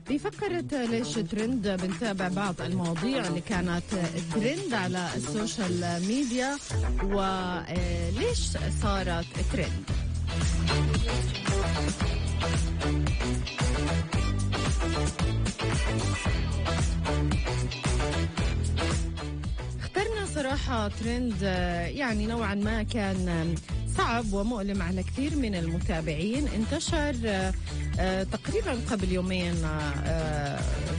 بفقرة ليش ترند بنتابع بعض المواضيع اللي كانت ترند على السوشيال ميديا وليش صارت ترند. اخترنا صراحة ترند يعني نوعا ما كان صعب ومؤلم على كثير من المتابعين. انتشر تقريبا قبل يومين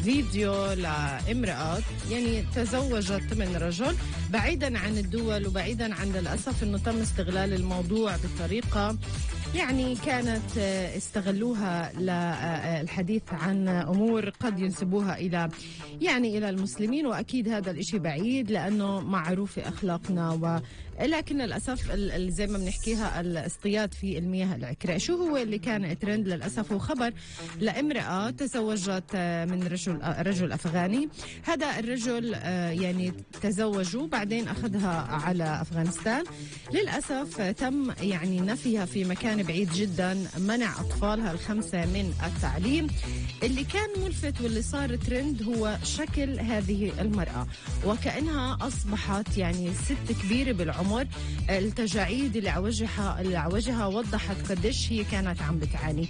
فيديو لامرأة يعني تزوجت من رجل بعيدا عن الدول وبعيدا عن للأسف انه تم استغلال الموضوع بطريقة يعني كانت استغلوها للحديث عن أمور قد ينسبوها إلى المسلمين، وأكيد هذا الإشي بعيد لأنه معروف أخلاقنا لكن للأسف زي ما بنحكيها الاصطياد في المياه العكرة. شو هو اللي كان ترند للأسف؟ هو خبر لامرأة تزوجت من رجل أفغاني. هذا الرجل يعني تزوجوا بعدين أخذها على أفغانستان. للأسف تم يعني نفيها في مكان بعيد جدا، منع أطفالها ال5 من التعليم. اللي كان ملفت واللي صار ترند هو شكل هذه المرأة، وكأنها أصبحت يعني ست كبيرة بالعمر. التجاعيد اللي على وجهها وضحت قديش هي كانت عم بتعاني.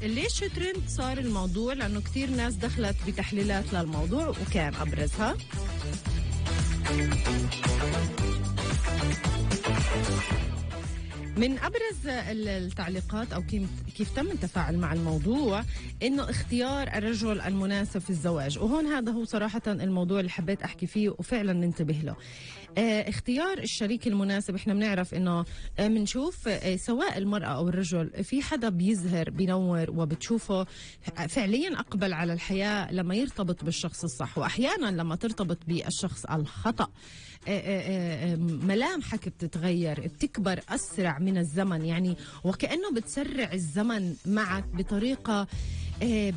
ليش ترند صار الموضوع؟ لأنه كثير ناس دخلت بتحليلات للموضوع وكان أبرزها من أبرز التعليقات أو كيف تم التفاعل مع الموضوع إنه اختيار الرجل المناسب في الزواج. وهون هذا هو صراحة الموضوع اللي حبيت أحكي فيه وفعلا ننتبه له. اختيار الشريك المناسب. احنا بنعرف إنه منشوف سواء المرأة أو الرجل في حدا بيزهر بينور وبتشوفه فعليا أقبل على الحياة لما يرتبط بالشخص الصح، وأحيانا لما ترتبط بالشخص الخطأ ملامحك بتتغير، بتكبر أسرع من الزمن يعني، وكأنه بتسرع الزمن معك بطريقة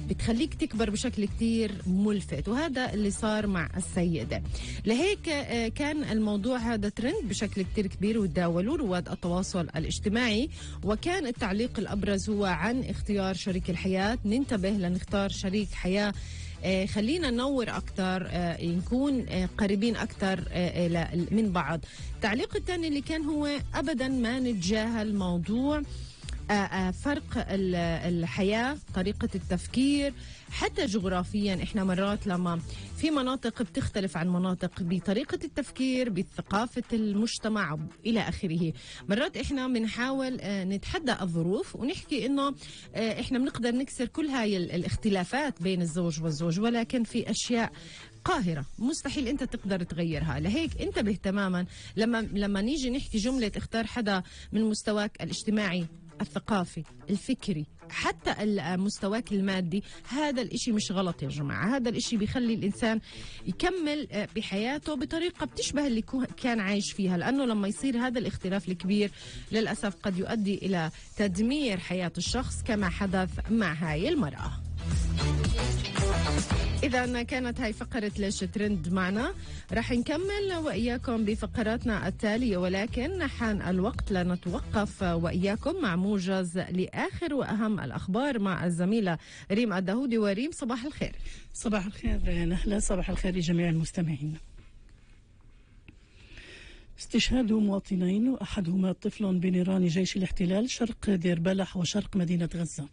بتخليك تكبر بشكل كتير ملفت. وهذا اللي صار مع السيدة. لهيك كان الموضوع هذا ترند بشكل كتير كبير وتداولوا رواد التواصل الاجتماعي. وكان التعليق الأبرز هو عن اختيار شريك الحياة. ننتبه لنختار شريك حياة، خلينا ننور أكتر، نكون قريبين أكتر من بعض. التعليق الثاني اللي كان هو أبدا ما نتجاهل موضوع فرق الحياة، طريقة التفكير، حتى جغرافيا. احنا مرات لما في مناطق بتختلف عن مناطق بطريقة التفكير، بثقافة المجتمع إلى آخره. مرات احنا بنحاول نتحدى الظروف ونحكي انه احنا بنقدر نكسر كل هاي الاختلافات بين الزوج والزوج، ولكن في أشياء قاهرة مستحيل انت تقدر تغيرها. لهيك انتبه تماما لما نيجي نحكي جملة اختار حدا من مستواك الاجتماعي، الثقافي، الفكري، حتى مستواك المادي. هذا الاشي مش غلط يا جماعة، هذا الاشي بيخلي الانسان يكمل بحياته بطريقة بتشبه اللي كان عايش فيها. لانه لما يصير هذا الاختلاف الكبير للأسف قد يؤدي الى تدمير حياة الشخص كما حدث مع هاي المرأة. إذا كانت هاي فقرة ليش ترند معنا. رح نكمل وإياكم بفقراتنا التالية، ولكن حان الوقت لنتوقف وإياكم مع موجز لآخر وأهم الأخبار مع الزميلة ريم الدهودي. وريم صباح الخير. صباح الخير نهلة، صباح الخير لجميع المستمعين. استشهاد مواطنين وأحدهما طفل بنيران جيش الاحتلال شرق دير بلح وشرق مدينة غزة.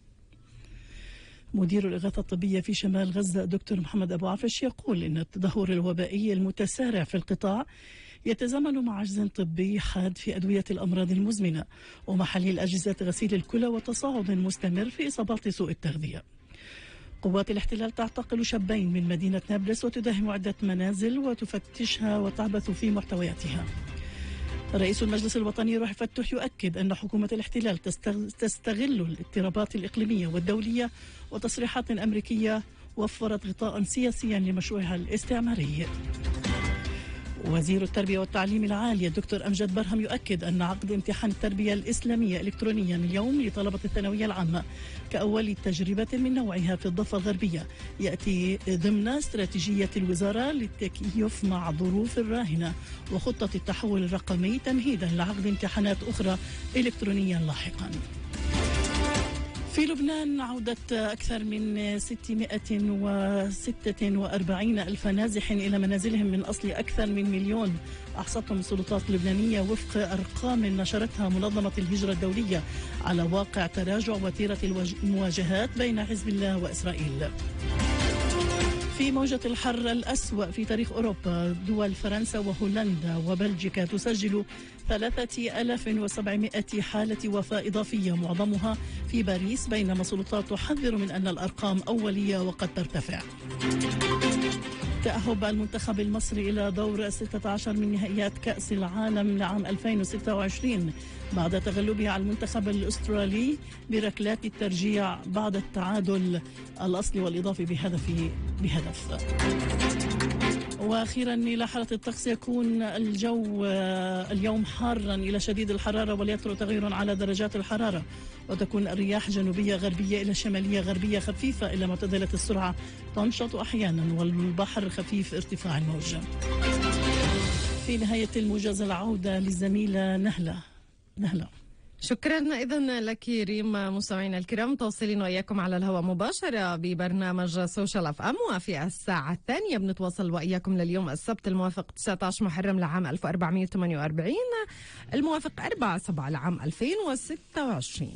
مدير الإغاثة الطبية في شمال غزة دكتور محمد أبو عفش يقول إن التدهور الوبائي المتسارع في القطاع يتزامن مع عجز طبي حاد في أدوية الأمراض المزمنة ومحاليل أجهزة غسيل الكلى وتصاعد مستمر في إصابات سوء التغذية. قوات الاحتلال تعتقل شابين من مدينة نابلس وتداهم عدة منازل وتفتشها وتعبث في محتوياتها. رئيس المجلس الوطني روح فتوح يؤكد أن حكومة الاحتلال تستغل الاضطرابات الإقليمية والدولية وتصريحات أمريكية وفرت غطاء سياسيا لمشروعها الاستعماري. وزير التربية والتعليم العالي الدكتور أمجد برهم يؤكد أن عقد امتحان التربية الإسلامية إلكترونيا اليوم لطلبة الثانوية العامة كأول تجربة من نوعها في الضفة الغربية يأتي ضمن استراتيجية الوزارة للتكيف مع ظروف الراهنة وخطة التحول الرقمي تمهيدا لعقد امتحانات أخرى إلكترونيا لاحقا. في لبنان عودة أكثر من 646 ألف نازح إلى منازلهم من أصل أكثر من مليون أحصتهم السلطات اللبنانية وفق أرقام نشرتها منظمة الهجرة الدولية على واقع تراجع وتيرة المواجهات بين حزب الله وإسرائيل. في موجة الحر الأسوأ في تاريخ أوروبا، دول فرنسا وهولندا وبلجيكا تسجل 3700 حالة وفاة إضافية معظمها في باريس، بينما السلطات تحذر من أن الأرقام أولية وقد ترتفع. تأهب المنتخب المصري إلى دور 16 من نهائيات كأس العالم لعام 2026 بعد تغلبه على المنتخب الأسترالي بركلات الترجيع بعد التعادل الأصلي والإضافي بهدف. وأخيرا إلى حالة الطقس، يكون الجو اليوم حارا إلى شديد الحرارة وليطرأ تغير على درجات الحرارة، وتكون الرياح جنوبية غربية إلى شمالية غربية خفيفة إلى معتدلة السرعة تنشط أحيانا، والبحر خفيف ارتفاع الموج. في نهاية الموجز العودة للزميلة نهلة. شكرا إذن لك ريم. مستمعينا الكرام، تواصلين وإياكم على الهواء مباشرة ببرنامج سوشيال اف ام، وفي الساعة الثانية بنتواصل وإياكم لليوم السبت الموافق 19 محرم لعام 1448 الموافق 4/7 لعام 2026.